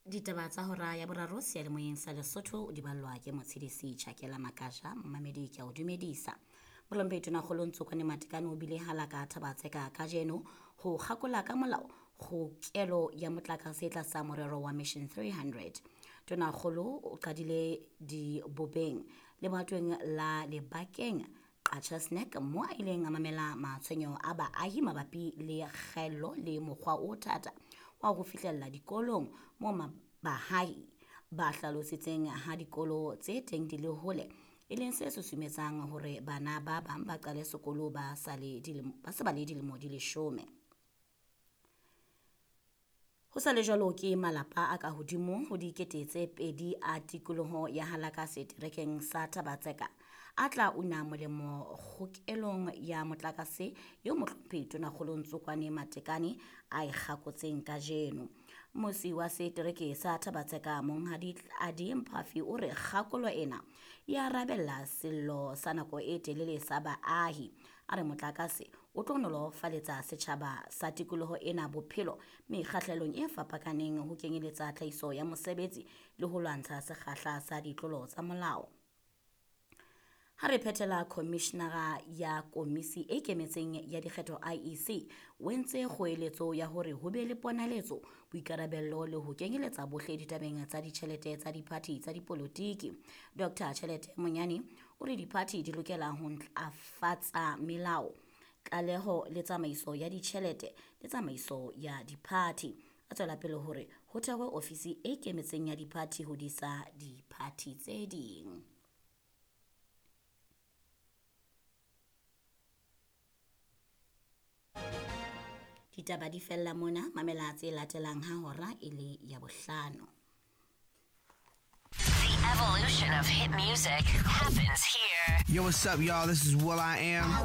Ditaba tsa hora ya boraro seyalemoyeng sa Lesotho di ballwa ke Motshedisi Chakela Makaja. Momamedi ke a o dumedisa. Mohlomphehi Tonakgolo Ntsokwane Matekane o bile halaka Thabatseka kajeno ho kgakola ka molao kgokelo ya motlakase tlasa morero wa Mission 300. Tonakgolo o qadile dibobeng lebatweng la Lebakeng Qacha's Nek mo a ileng a mamela matshwenyeho a baahi mabapi le kgaello le mokgwa o thata wa ho fihlella dikolong mo bahahi ba hlalositseng ha dikolo tse teng di le hole e leng se susumetsang hore bana ba bang ba qale sekolo ba sa le dilemo di leshome. Ho sa le jwalo ke malapa a ka hodimo ho 2000 a tikoloho ya Halaka seterekeng sa Thabatseka a tla una molemo kgokelong ya motlakase eo mohlomphehi Tonakgolo Ntsokwane Matekane a e kgakotseng kajeno. Mmusi wa setereke sa Thabatseka Monghadi Tladi Mphafi o re kgakolo ena e arabella sello sa nako e telele sa baahi. A re motlakase o tlo nolofaletsa setjhaba sa tikoloho ena bophelo mekgahlelong e fapakaneng ho kenyeletsa tlhahiso ya mosebetsi le ho lwantsha sekgahla sa ditlolo tsa molao. Ha re phethela, Komishenara ya Komisi e Ikemetseng ya Dikgetho IEC o entse kgoeletso ya hore ho be le ponaletso, boikarabello le ho kenyeletsa bohle ditabeng tsa ditjhelete tsa diphathi tsa dipolotiki. Dr. Tjhelete Monyane o re diphathi di lokela ho ntlafatsa melao, tlaleho le tsamaiso ya ditjhelete le tsamaiso ya diphathi. A tswela pele hore ho thehwe ofisi e ikemetseng ya diphathi ho disa diphathi tse ding. Ditaba di fella mona, mamela tse latelang ha hora e le ya bohlano. The evolution of hit music happens here. Yo, what's up, y'all? This is Will I Am.